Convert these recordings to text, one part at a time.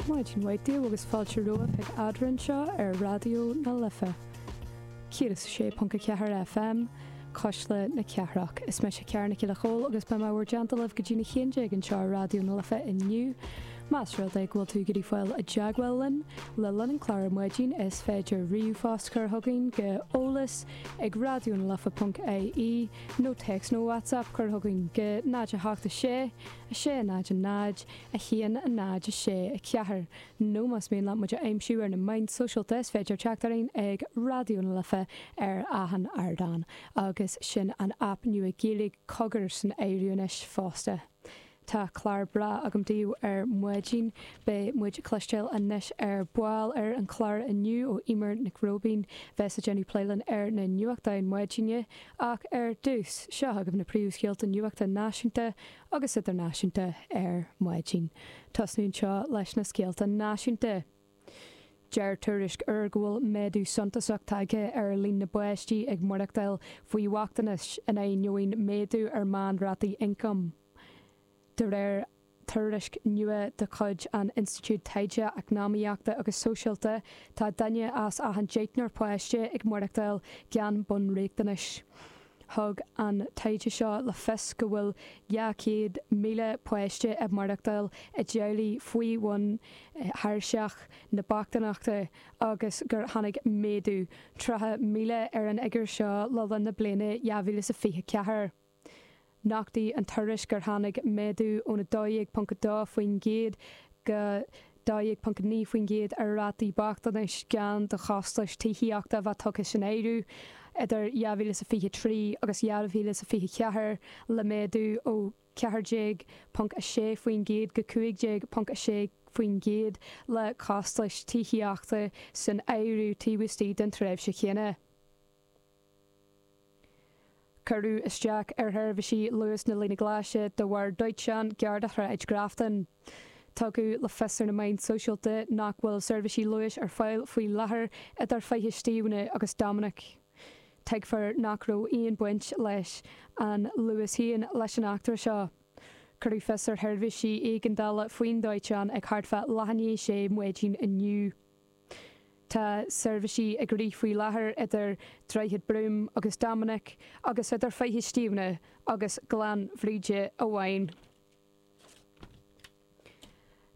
Maidin mhaith daoibh agus fáilte romhaibh chuig Eadrainn anseo ar Raidió na Life 106.4 FM, Cuisle na Cathrach. Is mise Ciara Nic Giolla Chóill agus beidh mé bhur dteannta libh go dtí na 11 anseo ar Raidió na Life inniu. Más rud é go bhfuil tú ag iarraidh fáil i dteagmháil linn le linn an chláir ar maidin is féidir ríomhphost chur chugainn go eolas ag raidionalife.ie nó téacs nó WhatsApp cur chugainn go 0 8 6 6 0 0 1 0 6 4 nó más mian leat muid a aimsiú ar na meáin sóisialta is féidir teacht orainn ag Raidió na Life ar achan ardán agus sin an aip nua Gaeilge Cogar san áireamh anois fosta. Tá clár breá agam daoibh ar maidin. Beidh muid ag cloisteáil anois ar ball ar an chlár inniu ó Eimear Nic Róibín, bheas ag déanamh plé linn ar na nuachtáin maidine. Ach ar dtús, seo agaibh na príomhscéalta nuachta náisiúnta agus idirnáisiúnta ar maidin. Tosnú anseo leis na scéalta náisiúnta. Deir tuairisc úr go bhfuil méadú suntasach tagtha ar líon na bpáistí ag maireachtáil faoi bhochtanas in ainneoin méadú ar mheánrátaí ioncaim. De réir tuairisc nua de chuid an Institiúid Taighde Eacnamaíochta agus Sóisialta, tá duine as achan deichniúr páiste ag maireachtáil gan bunriachtanais. Thug an taighde seo le fios go bhfuil 200,000 páiste ag maireachtáil i dteaghlaigh faoi bhun thairseach na bochtaineachta agus gur tháinig méadú 30,000 ar an fhigiúr seo le linn na bliana 2024. Nochtaigh an tuairisc gur tháinig méadú ón 12.2% go 12.9% ar rátaí bochtanais gan do chostais tithíochta a bheith tugtha san áireamh idir 2023 agus 2024, le méadú ó 14.6% go 15.6% le costais tithíochta san áireamh taobh istigh den tréimhse chéanna. Cuireadh isteach ar sheirbhísí Luas na Líne Glaise de bharr dóiteáin gar do Shráid Grafton. Tugadh le fios ar na meáin sóisialta nach bhfuil seirbhísí Luais ar fáil faoi láthair idir Faiche Stiabhna agus Dominic. Tuigfear nach raibh aon baint leis an Luas féin leis an eachtra seo. Cuireadh fios ar sheirbhísí éigeandála faoin dóiteán ag thart fá leath i ndiaidh a sé maidin inniu. Tá seirbhísí ag rith faoi láthair idir Droichead Broome agus Dominic agus idir Faiche Stiabhna agus Gleann Bhríde amháin.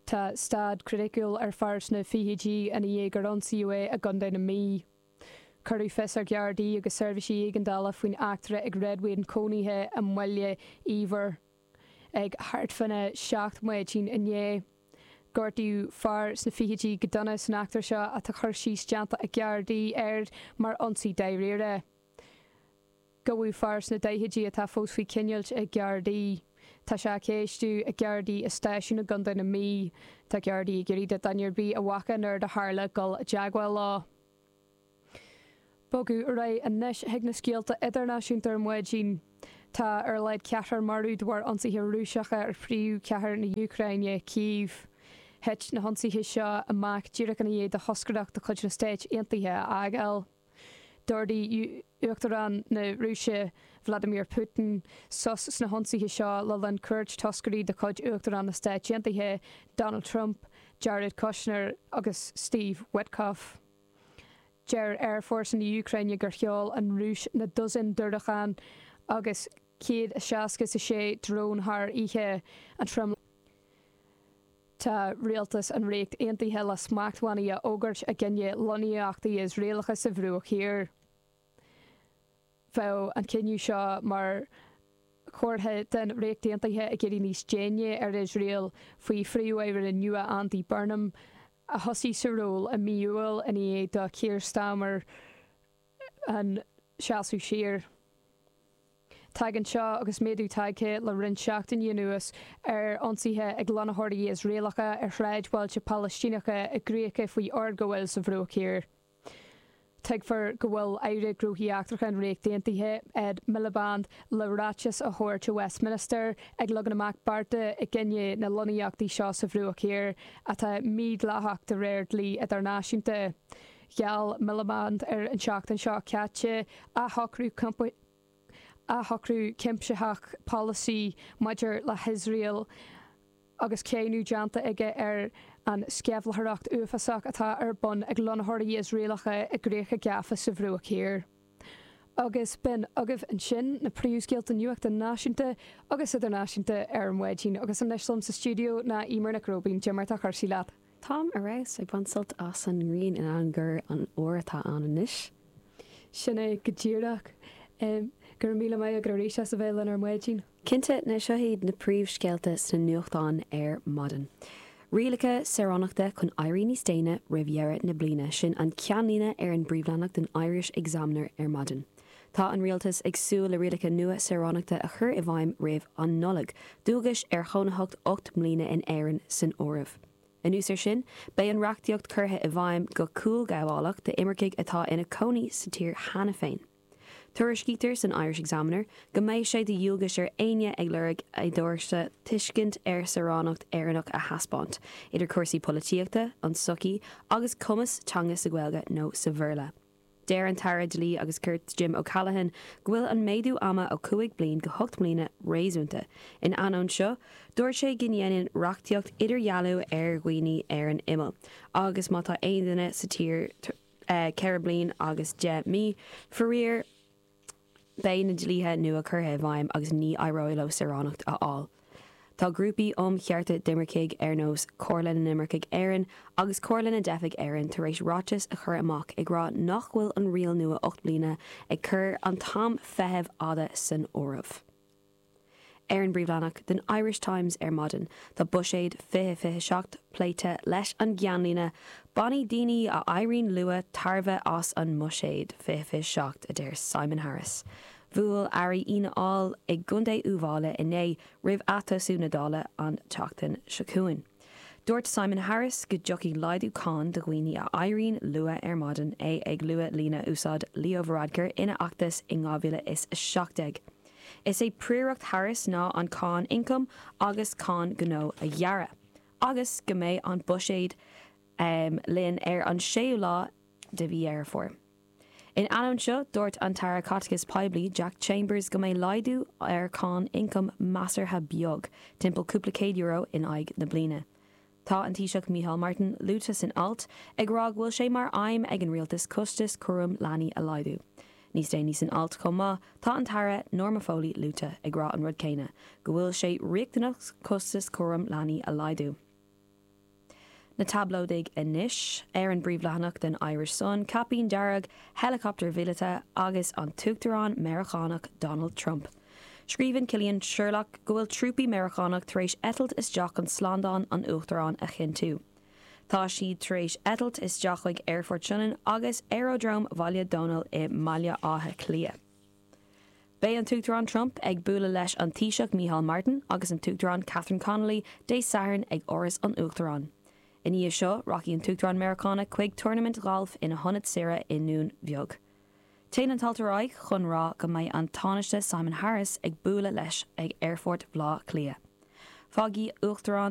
Tá staid chriticiúil ar fear sna fichidí ina dhiaidh gur ionsaíodh é i gContae na Mí. Cuireadh fios ar Ghardaí agus seirbhísí éigeandála faoin eachtra ag réadmhaoin cónaithe i mBaile Íomhair. Ag thart fána 7 maidin inné, gortaíodh fear sna fichidí go dona san eachtra seo atá cur síos déanta ag Gardaí air mar ionsaí dáiríre. Gabhadh fear sna daichidí atá fós faoi choinneáilt ag Gardaí. Tá sé á cheistiú ag Gardaí i stáisiún i gContae na Mí. Tá Gardaí ag iarraidh do dhuine ar bith a bhfaca an rud a tharla dul i dteagmháil leo. Bogadh ar aghaidh anois chuig na scéalta idirnáisiúnta ar maidin. Tá ar a laghad ceathrar marbh de bharr ionsaithe Rúiseacha ar phríomhchathair na hÚcráine, Cív. Thit na hionsaithe seo amach díreach ina dhiaidh do thoscaireacht de chuid na Stáit Aontaithe a fhágáil. D'ordaigh Uachtarán na Rúise, Vladimir Putin, sos sna hionsaithe seo le linn cuairt toscairí de chuid Uachtarán na Stáit Aontaithe, Donald Trump, Jared Kushner agus Steve Witkoff. Deir Aerfhórsa na hÚcráine gur sheol an Rúis na dosaein diúracán agus 166 drón thar oíche an tromluí. Tá rialtas an Ríocht Aontaithe le smachtbhannaí a fhógairt i gcoinne lonnaíochtaí Iosraelacha sa Bhruach Thiar. Bheadh an cinneadh seo mar chomhartha den Ríocht Aontaithe ag éirí níos déine ar Iosrael faoi Phríomh-Aire nua Andy Burnham, a thosaigh sa ról i mí Iúil i ndiaidh do Keir Starmer an seasamh siar. Tagann seo agus méadú tagtha le roinnt seachtainí anuas ar ionsaithe ag lonnaitheoirí Iosraelacha ar shráidbhailte Palaistíneacha i gcríocha faoi fhorghabháil sa Bhruach Thiar. Tuigfear go bhfuil Aire Gnóthaí Eachtracha an Ríocht Aontaithe, Ed Miliband, le ráiteas a thabhairt i Westminster ag leagan amach bearta i gcoinne na lonnaíochtaí seo sa Bhruach Thiar, atá mídhleathach de réir dlí idirnáisiúnta. Gheall Miliband ar an tseachtain seo caite athshocrú athshocrú cuimsitheach polasaí maidir le hIosrael. Agus cáineadh déanta aige ar an sceimhlitheoireacht uafásach atá ar bun ag lonnaitheoirí Iosraelacha i gcríocha gafa sa Bhruach Thiar. Agus b'in agaibh ansin na príomhscéalta nuachta náisiúnta agus idirnáisiúnta ar maidin. Agus anois liom sa stiúideo ná Eimear Nic Róibín. Cad é mar atá cúrsaí leat? Táim ar fheabhas, ag baint sult as an ngrian in ainneoin gur an fhuar atá ann anois. Sin é go díreach. Go raibh míle maith agat arís as a bheith linn ar maidin. Cinnte, now seo iad na príomhscéalta sna nuachtáin ar maidin. Rialacha saoránachta chun éirí níos déine roimh dheireadh na bliana, sin an ceannlíne ar an bpríomhleathanach den Irish Examiner ar maidin. Tá an rialtas ag súil le rialacha nua saoránachta a chur i bhfeidhm roimh an Nollaig, dualgais ar chónaitheacht 8 mbliana in Éirinn san áireamh. Anuas air sin, beidh an reachtaíocht curtha i bhfeidhm go cúlghabhálach d'imircigh atá ina cónaí sa tír cheana féin. Tuairiscítear san Irish Examiner go mbeidh sé de dhualgais ar éinne ag lorg éadóchta tuiscint ar saoránacht Éireannach a thaispeáint, idir cúrsaí polaitíochta, an tsochaí agus cumas teanga sa Ghaeilge nó sa Bhéarla. Deir an tAire Dlí agus Cirt Jim O'Callaghan go bhfuil an méadú ama ó 5 bliain go 8 mbliana réasúnta. In ainneoin seo, dúirt sé go ndéanann reachtaíocht idirdhealú ar dhaoine ar an imeall agus má tá aon duine sa tír 4 bliain agus 10 mí. Faraor, beidh na dlíthe nua curtha i bhfeidhm agus ní éireoidh leo saoránacht a fháil. Tá grúpaí um chearta d'imircigh ar nós Comhairle na nImirceach Éireann agus Comhairle na dTeifeach Éireann tar éis ráiteas a chur amach ag rá nach bhfuil an riail nua 8 mbliana ag cur an t-am feithimh fhada san áireamh. Ar an bpríomhleathanach den Irish Times ar maidin, tá Buiséad 2027 pléite leis an gceannlíne 'Bainfidh daoine a éiríonn luath tairbhe as an mBuiséad 2027', a deir Simon Harris. Bhuail airí Fhianna Fháil i gContae Uíbh Fhailí inné roimh atosú na Dála an tseachtain seo chugainn. Dúirt Simon Harris go dtiocfaidh laghdú cáin do dhaoine a éiríonn luath ar maidin, é ag lua líne a úsáid Leo Varadkar ina fheachtas in 2017. Is é príoracht Harris ná an cáin ioncaim agus cáin gnó a ghearradh, agus go mbeidh an buiséad linn ar an séú lá de mhí Dheireadh Fómhair. In ainneoin seo, dúirt an tAire Caiteachais Poiblí, Jack Chambers go mbeidh laghdú ar cháin ioncaim measartha beag, timpeall cúpla céad euro in aghaidh na bliana. Tá an Taoiseach Micheál Martin luaite san alt, ag rá go bhfuil sé mar aidhm ag an rialtas costas cúram leanaí a laghdú. Níos déanaí san alt chomh maith, tá an tAire Norma Foley luaite ag rá an rud céanna, go bhfuil sé riachtanach costas cúram leanaí a laghdú. Na tablóidigh anois. Ar an bpríomhleathanach den Irish Sun, caipín dearg, heileacaptar mhíleata agus an tUachtarán Meiriceánach Donald Trump. Scríobhann Cillian Sherlock go bhfuil trúpaí Meiriceánach tar éis eitilt isteach chun slándáil an Uachtaráin a chinntiú. Tá siad tar éis eitilt isteach chuig Aerfort Sionainn agus Aerodróm Bhaile Dónaill i mBaile Átha Cliath. Beidh an tUachtarán Trump ag bualadh leis an Taoiseach Micheál Martin agus an tUachtarán Catherine Connolly Dé Sathairn ag Áras an Uachtaráin. I ndiaidh seo, rachaidh an tUachtarán Meiriceánach chuig turnaimint ghailf ina hionad saoire i nDún Bheag. Téann an t-alt ar aghaidh chun rá go mbeidh an Tánaiste Simon Harris ag bualadh leis ag Aerfort Bhaile Átha Cliath. Fágfaidh Uachtarán.